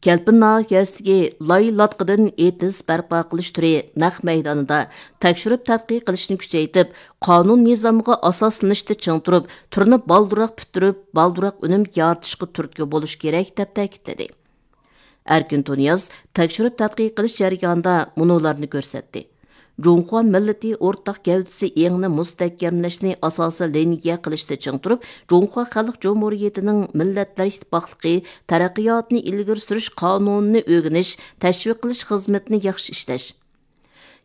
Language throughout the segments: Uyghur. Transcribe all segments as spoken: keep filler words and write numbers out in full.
كەلپىن ناھىيەسىدىكى لاي لاتقىدىن ئېتىز بەرپا قىلىش تۈرى نەق مەيدانىدا تەكشۈرۈپ تەتقىق قىلىشنى كۈچەيتىپ، قانۇن نىزامغا ئاساسلىنىشتا چىڭ تۇرۇپ، تۈرنى بالدۇرراق پۈتتۈرۈپ، بالدۇرراق ئۈنۈم يارىتىشقا تۈرتكە بولۇش كېرەك، دەپ تەكىتلىدى. ئەركىن تۇنىياز تەكشۈرۈپ تەتقىق قىلىش جەريانىدا مۇنۇلارنى كۆرسەتتى. جۇڭخۇا مىللىتى ئورتاق گەۋدىسى ئېڭىنى مۇستەھكەملەشنى ئاساسىي لىنىيە قىلىشتا چىڭ تۇرۇپ، جۇڭخۇا خەلق جۇمھۇرىيىتىنىڭ مىللەتلەر ئىتتىپاقلىقى تەرەققىياتىنى ئىلگىرى سۈرۈش قانۇنىنى ئۆگىنىش، تەشۋىق قىلىش خىزمىتىنى ياخشى ئىشلەش.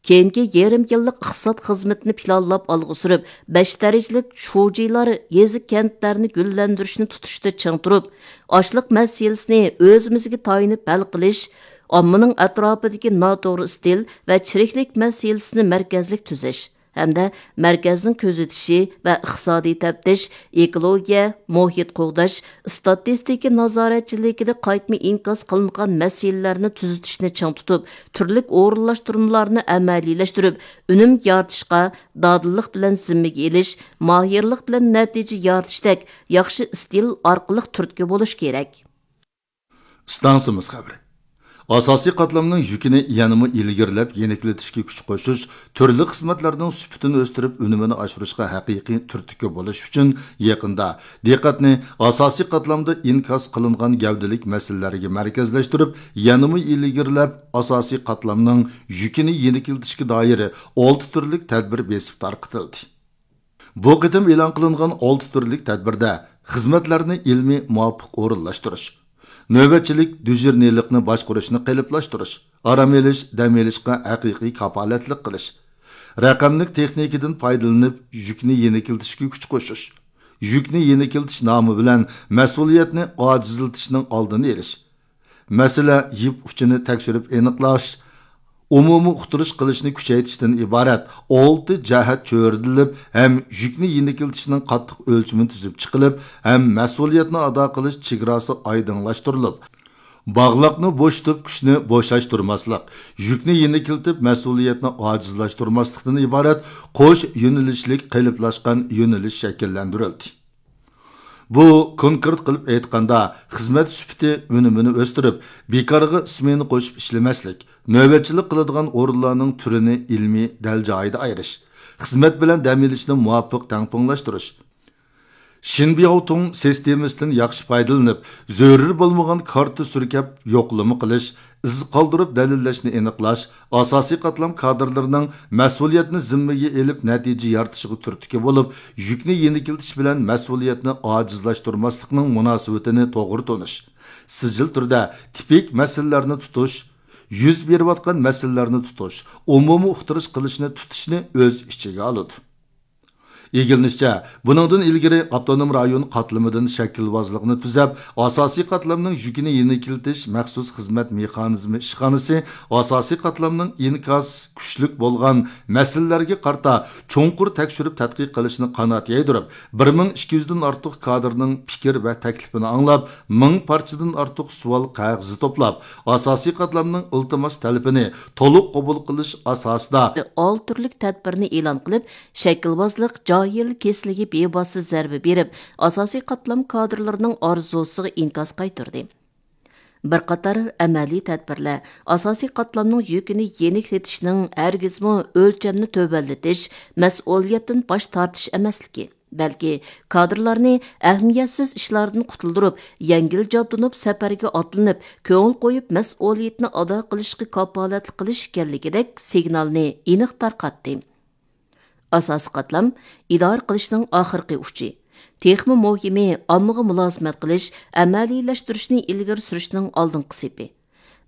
كېيىنكى يېرىم يىللىق ئىقتىساد خىزمىتىنى پىلانلاپ ئالغا سۈرۈپ، بەش دەرىجىلىك شۇجىلار يېزا، كەنتلەرنى گۈللەندۈرۈشنى تۇتۇشتا چىڭ تۇرۇپ، ئاشلىق مەسىلىسىنى ئۆزىمىزگە تايىنىپ ھەل قىلىش، ئاممىنىڭ ئەتراپىدىكى ناتوغرا ئىستىل ۋە چىرىكلىك مەسىلىسىنى مەركەزلىك تۈزەش ھەمدە مەركەزنىڭ كۆزىتىشى ۋە ئىقتىسادىي تەپتىش، ئېكولوگىيە، مۇھىت قوغداش، ئىستاتىستىكا نازارەتچىلىكىدە قايتما ئىنكاس قىلىنغان مەسىلىلەرنى تۈزىتىشنى چىڭ تۇتۇپ، تۈرلۈك ئورۇنلاشتۇرمىلارنى ئەمەلىيلەشتۈرۈپ، ئۈنۈم يارىتىشقا دادىللىق بىلەن زىممىگە ئېلىش، ماھىرلىق بىلەن نەتىجە يارىتىشتەك ياخشى ئىستىل ئارقىلىق تۈرتكە بولۇش كېرەك. ئىستانسىمىز خەۋىرى. ئاساسىي قاتلامنىڭ يۈكىنى يەنىمۇ ئىلگىرىلەپ يېنىكلىتىشكە كۈچ قوشۇش، تۈرلۈك خىزمەتلەرنىڭ سۈپىتىنى ئۆستۈرۈپ، ئۈنۈمىنى ئاشۇرۇشقا ھەقىقىي تۈرتكە بولۇش ئۈچۈن، يېقىندا دىققەتنى ئاساسىي قاتلامدا ئىنكاس قىلىنغان گەۋدىلىك مەسىلىلەرگە مەركەزلەشتۈرۈپ، يەنىمۇ ئىلگىرىلەپ، ئاساسىي قاتلامنىڭ يۈكىنى يېنىكلىتىشكە دائىر ئالتە تۈرلۈك تەدبىر بېسىپ تارقىتىلدى. بۇ قېتىم ئېلان قىلىنغان ئالتە تۈرلۈك تەدبىردە خىزمەتلەرنى ئىلمىي مۇۋاپىق ئورۇنلاشتۇرۇش، نۆۋەتچىلىك دىژورنىلىقنى باشقۇرۇشنى قېلىپلاشتۇرۇش، ئارام ئېلىش، دەم ئېلىشقا ھەقىقىي كاپالەتلىك قىلىش، رەقەملىك تېخنىكىدىن پايدىلىنىپ يۈكنى يېنىكلىتىشكە كۈچ قوشۇش، يۈكنى يېنىكلىتىش نامى بىلەن مەسئۇلىيەتنى ئاجىزلىتىشنىڭ ئالدىنى ئېلىش، مەسىلە يىپ ئۇچىنى تەكشۈرۈپ ئېنىقلاش، ئومۇمىي ئۇقتۇرۇش قىلىشنى كۈچەيتىشتىن ئىبارەت ئالتە جەھەت چۆرىدىلىپ ھەم يۈكنى يېنىكلىتىشنىڭ قاتتىق ئۆلچىمى تۈزۈپ چىقىلىپ ھەم مەسئۇلىيەتنى ئادا قىلىش چېگراسى ئايدىڭلاشتۇرۇلۇپ، باغلاقنى بوشىتىپ، كۈچنى بوشاشتۇرماسلىق، يۈكنى يېنىكلىتىپ، مەسئۇلىيەتنى ئاجىزلاشتۇرماسلىقتىن ئىبارەت قوش يۆنىلىشلىك قېلىپلاشقان يۆنىلىش شەكىللەندۈرۈلدى. بۇ، كونكرېت قىلىپ ئېيتقاندا، خىزمەت سۈپىتى ئۈنۈمىنى ئۆستۈرۈپ، بىكارغا سمېنا قوشۇپ ئىشلىمەسلىك، نۆۋەتچىلىك قىلىدىغان ئورۇنلارنىڭ تۈرىنى ئىلمىي دەل جايىدا ئايرىش، خىزمەت بىلەن دەم ئېلىشنى مۇۋاپىق تەڭپۇڭلاشتۇرۇش، شىنبياۋتۇڭ سىستېمىسىدىن ياخشى پايدىلىنىپ، زۆرۈر بولمىغان كارتا سۈركەپ يوقلىما قىلىش، ئىز قالدۇرۇپ دەلىللەشنى ئېنىقلاش، ئاساسىي قاتلام كادىرلىرىنىڭ مەسئۇلىيەتنى زىممىگە ئېلىپ نەتىجە يارىتىشىغا تۈرتكە بولۇپ، يۈكنى يېنىكلىتىش بىلەن مەسئۇلىيەتنى ئاجىزلاشتۇرماسلىقنىڭ مۇناسىۋىتىنى توغرا تونۇش، سىجىل تۈردە تىپىك مەسىلىلەرنى تۇتۇش، يۈز بېرىۋاتقان مەسىلىلەرنى تۇتۇش، ئومۇمىي ئۇقتۇرۇش قىلىشنى تۇتۇشنى ئۆز ئىچىگە ئالىدۇ. ئىگىلىنىشىچە، بۇنىڭدىن ئىلگىرى ئاپتونوم رايون قاتلىمىدىن شەكىلۋازلىقنى تۈزەپ، ئاساسىي قاتلامنىڭ يۈكىنى يېنىكلىتىش مەخسۇس خىزمەت مېخانىزمى ئىشخانىسى ئاساسىي قاتلامنىڭ ئىنكاس كۈچلۈك بولغان مەسىلىلەرگە قارىتا چوڭقۇر تەكشۈرۈپ تەتقىق قىلىشنى قانات يايدۇرۇپ، بىر مىڭ ئىككى يۈزدىن ئارتۇق كادىرنىڭ پىكىر ۋە تەكلىپىنى ئاڭلاپ، مىڭ پارچىدىن ئارتۇق سوئال قەغىزى توپلاپ، ئاساسىي قاتلامنىڭ ئىلتىماس تەلىپىنى تولۇق قوبۇل قىلىش ئاساسىدا، ئالتە تۈرلۈك تەدبىرنى ئېلان قىلىپ، شەكىلۋازلىق جاھىل كېسىلىگە بىۋاسىتە زەربە بېرىپ، ئاساسىي قاتلام كادىرلىرىنىڭ ئارزۇسىغا ئىنكاس قايتۇردى. بىر قاتار ئەمەلىي تەدبىرلەر ئاساسىي قاتلامنىڭ يۈكىنى يېنىكلىتىشنىڭ ھەرگىزمۇ ئۆلچەمنى تۆۋەنلىتىش، مەسئۇلىيەتتىن باش تارتىش ئەمەسلىكى، بەلكى كادىرلارنى ئەھمىيەتسىز ئىشلاردىن قۇتۇلدۇرۇپ، يەڭگىل جابدۇنۇپ سەپەرگە ئاتلىنىپ، كۆڭۈل قويۇپ مەسئۇلىيىتىنى ئادا قىلىشقا كاپالەتلىك قىلىش ئىكەنلىكىدەك سىگنالنى ئېنىق تارقاتتى. ئاساسىي قاتلام ئىدارە قىلىشنىڭ ئاخىرقى ئۇچى. تېخىمۇ مۇھىمى، ئاممىغا مۇلازىمەت قىلىش، ئەمەلىيلەشتۈرۈشنى ئىلگىرى سۈرۈشنىڭ ئالدىنقى سېپى.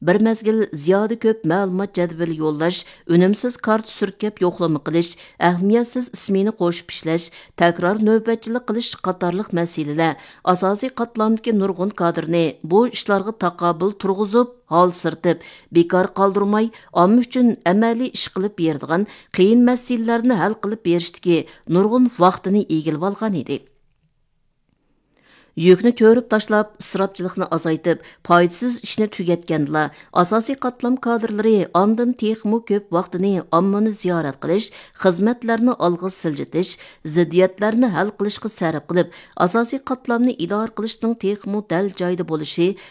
بىر مەزگىل زىيادە كۆپ مەلۇمات جەدۋىلى يوللاش، ئۈنۈمسىز كارتا سۈركەپ يوقلىما قىلىش، ئەھمىيەتسىز ئىسمېنا قوشۇپ ئىشلەش، تەكرار نۆۋەتچىلىك قىلىش قاتارلىق مەسىلىلەر ئاساسىي قاتلامدىكى نۇرغۇن كادىرنى بۇ ئىشلارغا تاقابىل تۇرغۇزۇپ، ھالسىرىتىپ، بىكار قالدۇرماي، ئامما ئۈچۈن ئەمەلىي ئىش قىلىپ بېرىدىغان قىيىن مەسىلىلەرنى ھەل قىلىپ بېرىشتىكى نۇرغۇن ۋاقتىنى ئىگىلىۋالغان ئىدى. يۈكنى چۆرۈپ تاشلاپ، ئىسراپچىلىقنى ئازايتىپ، پايدىسىز ئىشنى تۈگەتكەندىلا، ئاساسىي قاتلام كادىرلىرى ئاندىن تېخىمۇ كۆپ ۋاقتىنى ئاممىنى زىيارەت قىلىش، خىزمەتلەرنى ئالغا سىلجىتىش، زىددىيەتلەرنى ھەل قىلىشقا سەرپ قىلىپ، ئاساسىي قاتلامنى ئىدارە قىلىشنىڭ تېخىمۇ دەل جايىدا بولۇشى،